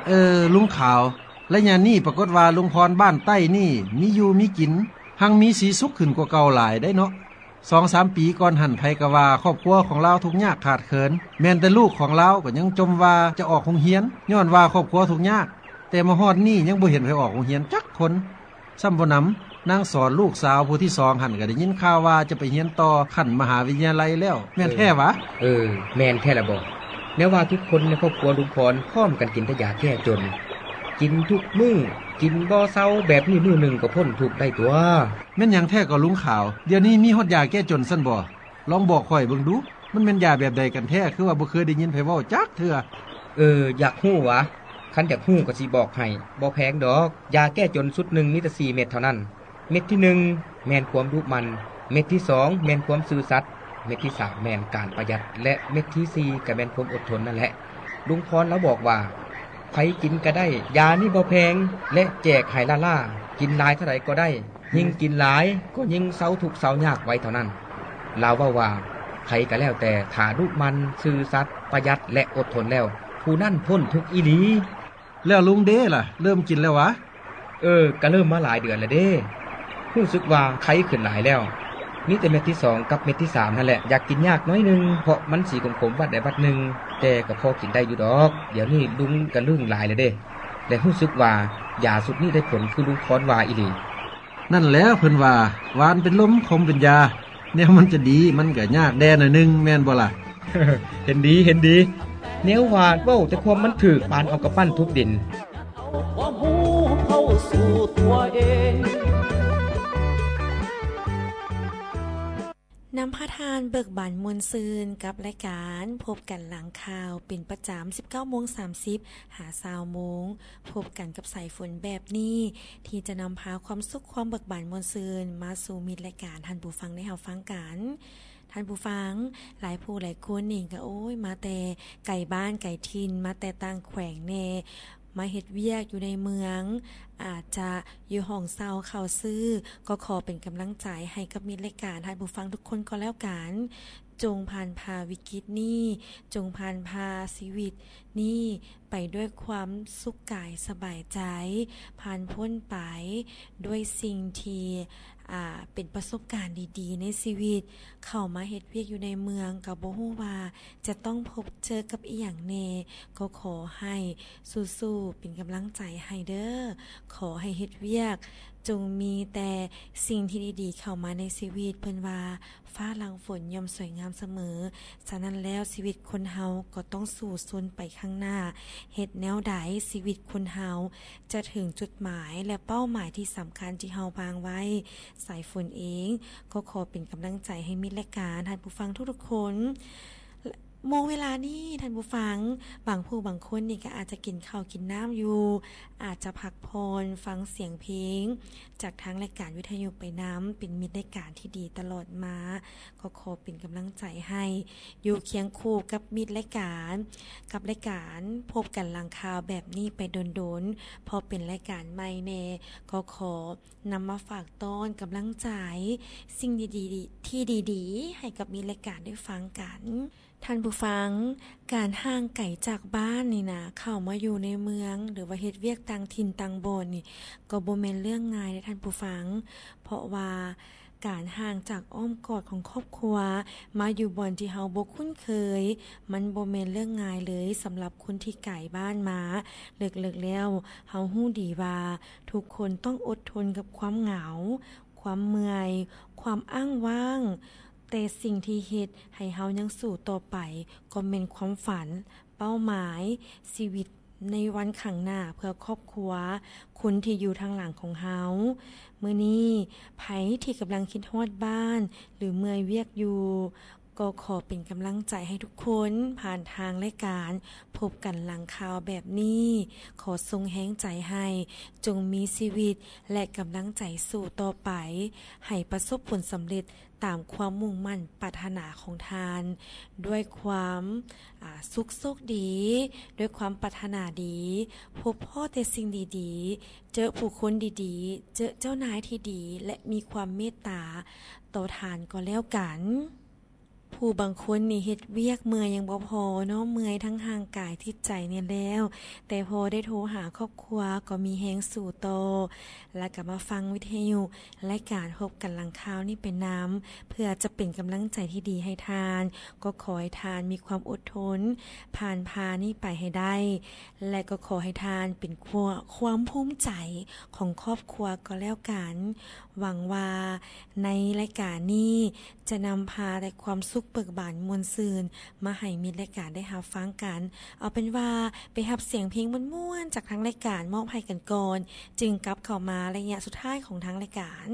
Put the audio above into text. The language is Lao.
ເອີ ລຸງຂາວ, ໄລຍະນີ້ປາກົດວ່າລຸງພອນບ້ານໃຕ້ນີ້ມີຢູ່ມີກິນ ຮັ່ງມີສີສຸກຂຶ້ນກວ່າເກົ່າຫຼາຍໄດ໋ເນາະ. ສອງສາມປີກ່ອນຫັ້ນ ໃຜກໍວ່າຄອບຄົວຂອງລາວທຸກຍາກຂາດເຂີນ, ແມ່ນແຕ່ລູກຂອງລາວກໍຍັງຈົ່ມວ່າຈະອອກໂຮງຮຽນ ຍ້ອນວ່າຄອບຄົວທຸກຍາກ, ແຕ່ມາຮອດນີ້ຍັງບໍ່ເຫັນໃຜອອກໂຮງຮຽນຈັກຄົນ. ຊ້ຳບໍ່ໜຳ ນາງສອນລູກສາວຜູ້ທີສອງຫັ້ນ ກໍໄດ້ຍິນຂ່າວວ່າຈະໄປຮຽນຕໍ່ຂັ້ນມະຫາວິທະຍາໄລແລ້ວ ແມ່ນແທ້ຫວາ? ເອີ ແມ່ນແທ້ລະບໍ. ແນວວ່າທຸກຄົນໃນຄອບຄົວລຸງພອນພ້ອມກັນກິນແຕ່ຢາແກ້ຈົນ, ກິນທຸກມື້, ກິນບໍ່ເຊົາ, ແບບນີ້ມື້ໜຶ່ງກໍພົ້ນທຸກໄດ້ຕົວະ. ແມ່ນຫຍັງແທ້ກໍລຸງຂາວ? ດຽວນີ້ມີຮອດຢາແກ້ຈົນຊັ້ນບໍ? ລອງບອກຂ້ອຍເບິ່ງດູ ມັນແມ່ນຢາແບບໃດກັນແທ້ ຄືວ່າບໍ່ເຄີຍໄດ້ຍິນໃຜເວົ້າຈັກເທື່ອ? ເອີ ຢາກຮູ້ຫວາ? ຄັນຢາກຮູ້ກໍຊິບອກໃຫ້, ບໍ່ແພງດອກ. ຢາແກ້ຈົນຊຸດໜຶ່ງມີແຕ່ສີ່ເມັດເທົ່ານັ້ນ. ເມັດທີໜຶ່ງແມ່ນຄວາມດຸໝັ່ນ, ເມັດທີສອງແມ່ນຄວາມຊື່ສັດ, ເມັດທີສາມແມ່ນການປະຢັດ ແລະ ເມັດທີສີ່ກໍແມ່ນຄວາມອົດທົນນັ້ນແຫຼະ. ລຸງພອນລາວບອກວ່າ ໃຜກິນກໍໄດ້, ຢານີ້ບໍ່ແພງ ແລະ ແຈກໃຫ້ລ້າໆ, ກິນຫຼາຍເທົ່າໃດກໍໄດ້. ຍິ່ງກິນຫຼາຍກໍຍິ່ງເຊົາທຸກເຊົາຍາກໄວເທົ່ານັ້ນ. ລາວເວົ້າວ່າ ໃຜກໍແລ້ວແຕ່ ຖ້າດຸໝັ່ນ, ຊື່ສັດ, ປະຢັດ ແລະ ອົດທົນແລ້ວ, ຜູ້ນັ້ນພົ້ນທຸກອີ່ຫຼີ. ແລ້ວລຸງເດລະ ເລີ່ມກິນແລ້ວຫວາ? ເອີ ກະເລີ່ມມາຫຼາຍເດືອນແລ້ວເດ້. ຮູ້ສຶກວ່າໄຄຂຶ້ນຫຼາຍແລ້ວ. ມີແຕ່ເມັດທີສອງກັບເມັດທີສາມຫັ້ນແຫຼະ ຢາກກິນຍາກໜ້ອຍໜຶ່ງ ເພາະມັນສີຂົມໆ ວັດໃດວັດໜຶ່ງ, ແຕ່ກໍພໍກິນໄດ້ຢູ່ດອກ. ດຽວນີ້ລຸງກະລຶ້ງຫຼາຍແລ້ວເດ້ ແລະ ຮູ້ສຶກວ່າຢາຊຸດນີ້ໄດ້ຜົນຄືລຸງພອນວ່າອີ່ຫຼີ. ນັ້ນແຫຼະ ເພິ່ນວ່າ ຫວານເປັນລົມ ຂົມເປັນຢາ, ແນວມັນຈະດີ ມັນກະຍາກແດ່ໜ້ອຍໜຶ່ງ ແມ່ນບໍ່ລະ? ເຫັນດີ ເຫັນດີ. ແນວວ່າເວົ້າແຕ່ຄວາມມັນຖືກ ປານເອົາກຳປັ້ນທຸບດິນ. ນຳພາທ່ານເບີກບານມ່ວນຊື່ນກັບລາຍການພົບກັນຫຼັງຂ່າວເປັນປະຈຳ ສິບເກົ້າໂມງສາມສິບ ຫາ ຊາວໂມງ. ພົບກັນກັບສາຍຝົນແບບນີ້ ທີ່ຈະນຳພາຄວາມສຸກຄວາມເບີກບານມ່ວນຊື່ນມາສູ່ມິດລາຍການທ່ານຜູ້ຟັງໄດ້ຮັບຟັງກັນ. ທ່ານຜູ້ຟັງ, ຫຼາຍຜູ້ຫຼາຍຄົນນີ້ກໍ ໂອ້ຍ ມາແຕ່ໄກບ້ານໄກຖິ່ນ, ມາແຕ່ຕ່າງແຂວງແດ່, ມາເຮັດວຽກຢູ່ໃນເມືອງ, ອາດຈະຢູ່ຫ້ອງເຊົ່າເຂົ້າຊື້, ກໍຂໍເປັນກຳລັງໃຈໃຫ້ກັບມິດລາຍການທ່ານຜູ້ຟັງທຸກຄົນກໍແລ້ວກັນ. ຈົ່ງຜ່ານຜ່າວິກິດນີ້, ຈົ່ງຜ່ານຜ່າຊີວິດນີ້ໄປດ້ວຍຄວາມສຸກກາຍສະບາຍໃຈ, ຜ່ານພົ້ນໄປດ້ວຍສິ່ງທີ່ ອ່າ ເປັນປະສົບການດີໆໃນຊີວິດ. ເຂົ້າມາເຮັດວຽກຢູ່ໃນເມືອງກໍບໍ່ຮູ້ວ່າຈະຕ້ອງພົບເຈີກັບອີ່ຫຍັງແດ່, ກໍຂໍໃຫ້ສູ້ໆ ເປັນກຳລັງໃຈໃຫ້ເດີ້. ຂໍໃຫ້ເຮັດວຽກຈົ່ງມີແຕ່ສິ່ງທີ່ດີໆເຂົ້າມາໃນຊີວິດ. ເພິ່ນວ່າ ຟ້າຫຼັງຝົນຍ່ອມສວຍງາມສະເໝີ. ສະນັ້ນແລ້ວ ຊີວິດຄົນເຮົາກໍຕ້ອງສູ້ຊົນໄປຂ້າງໜ້າ. ເຮັດແນວໃດ ຊີວິດຄົນເຮົາຈະເຖິງຈຸດໝາຍ ແລະ ເປົ້າໝາຍທີ່ສຳຄັນທີ່ເຮົາວາງໄວ້. ສາຍຝົນເອງກໍຂໍເປັນກຳລັງໃຈໃຫ້ມິດລາຍການ, ທ່ານຜູ້ຟັງທຸກໆຄົນ. ໂມງເວລານີ້ ທ່ານຜູ້ຟັງ, ບາງຜູ້ບາງຄົນນີ້ກໍອາດຈະກິນເຂົ້າກິນນ້ຳຢູ່, ອາດຈະພັກຜ່ອນ, ຟັງສຽງເພງຈາກທາງລາຍການວິທະຍຸໄປນຳ, ເປັນມິດລາຍການທີ່ດີຕະຫຼອດມາ. ກໍຂໍເປັນກຳລັງໃຈໃຫ້ຢູ່ຄຽງຄູ່ກັບມິດລາຍການ, ກັບລາຍການພົບກັນຫຼັງຂ່າວແບບນີ້ໄປດົນໆ, ເພາະເປັນລາຍການໃໝ່ແດ່, ກໍຂໍນຳມາຝາກຕ້ອນກຳລັງໃຈ, ສິ່ງດີໆ ທີ່ດີໆ ໃຫ້ກັບມິດລາຍການໄດ້ຟັງກັນ. ທ່ານຜູ້ຟັງ, ການຫ່າງໄກຈາກບ້ານນີ້ນະ, ເຂົ້າມາຢູ່ໃນເມືອງ ຫຼືວ່າເຮັດວຽກຕ່າງຖິ່ນຕ່າງບ່ອນນີ້ ກໍບໍ່ແມ່ນເລື່ອງງ່າຍເດ້ທ່ານຜູ້ຟັງ, ເພາະວ່າການຫ່າງຈາກອ້ອມກອດຂອງຄອບຄົວ ມາຢູ່ບ່ອນທີ່ເຮົາບໍ່ຄຸ້ນເຄີຍ, ມັນບໍ່ແມ່ນເລື່ອງງ່າຍເລີຍສຳລັບຄົນທີ່ໄກບ້ານມາ. ເລິກໆແລ້ວ ເຮົາຮູ້ດີວ່າທຸກຄົນຕ້ອງອົດທົນກັບຄວາມເຫງົາ, ຄວາມເມື່ອຍ, ຄວາມອ້າງວ້າງ, ແຕ່ສິ່ງທີ່ເຮັດໃຫ້ເຮົາຍັງສູ້ຕໍ່ໄປ ກໍແມ່ນຄວາມຝັນ, ເປົ້າໝາຍ, ຊີວິດໃນວັນຂ້າງໜ້າເພື່ອຄອບຄົວ, ຄົນທີ່ຢູ່ທາງຫຼັງຂອງເຮົາ. ມື້ນີ້ ໃຜທີ່ກຳລັງຄິດຮອດບ້ານ ຫຼື ເມື່ອຍວຽກຢູ່, ກໍຂໍເປັນກຳລັງໃຈໃຫ້ທຸກຄົນ ຜ່ານທາງລາຍການພົບກັນຫຼັງຂ່າວແບບນີ້. ຂໍສົ່ງແຮງໃຈໃຫ້, ຈົ່ງມີຊີວິດ ແລະ ກຳລັງໃຈສູ້ຕໍ່ໄປ, ໃຫ້ປະສົບຜົນສຳເລັດ ຕາມຄວາມມຸ່ງໝັ້ນປາດຖະໜາຂອງທ່ານ, ດ້ວຍຄວາມ ອາ ສຸກໂຊກດີ, ດ້ວຍຄວາມປາດຖະໜາດີ, ພົບພໍ້ແຕ່ສິ່ງດີໆ, ເຈີຜູ້ຄົນດີໆ, ເຈີເຈົ້ານາຍທີ່ດີ ແລະ ມີຄວາມເມດຕາຕໍ່ທ່ານກໍແລ້ວກັນ. ຜູ້ບາງຄົນນີ້ເຮັດວຽກເມື່ອຍຍັງບໍ່ພໍເນາະ ເມື່ອຍທັງຮ່າງກາຍຈິດໃຈນີ້ແລ້ວ ແຕ່ພໍໄດ້ໂທຫາຄອບຄົວກໍມີແຮງສູ້ຕໍ່ ແລ້ວກໍມາຟັງວິທະຍຸ ລາຍການພົບກັນຫຼັງຂ່າວນີ້ໄປນຳ ເພື່ອຈະເປັນກຳລັງໃຈທີ່ດີໃຫ້ທ່ານ. ກໍຂໍໃຫ້ທ່ານມີຄວາມອົດທົນ ຜ່ານຜ່ານີ້ໄປໃຫ້ໄດ້ ແລະກໍຂໍໃຫ້ທ່ານເປັນຄວາມ ຄວາມພູມໃຈຂອງຄອບຄົວກໍແລ້ວກັນ. ຫວັງວ່າໃນລາຍການນີ້ຈະນຳພາແຕ່ຄວາມສຸກເບີກບານມ່ວນຊື່ນ ມາໃຫ້ມິດລາຍການໄດ້ຮັບຟັງກັນ. ເອົາເປັນວ່າໄປຮັບສຽງເພງມ່ວນໆ ຈາກທາງລາຍການມອບໃຫ້ກັນກ່ອນ ຈຶ່ງກັບເຂົ້າມາໄລຍະສຸດທ້າຍຂອງທາງລາຍການ.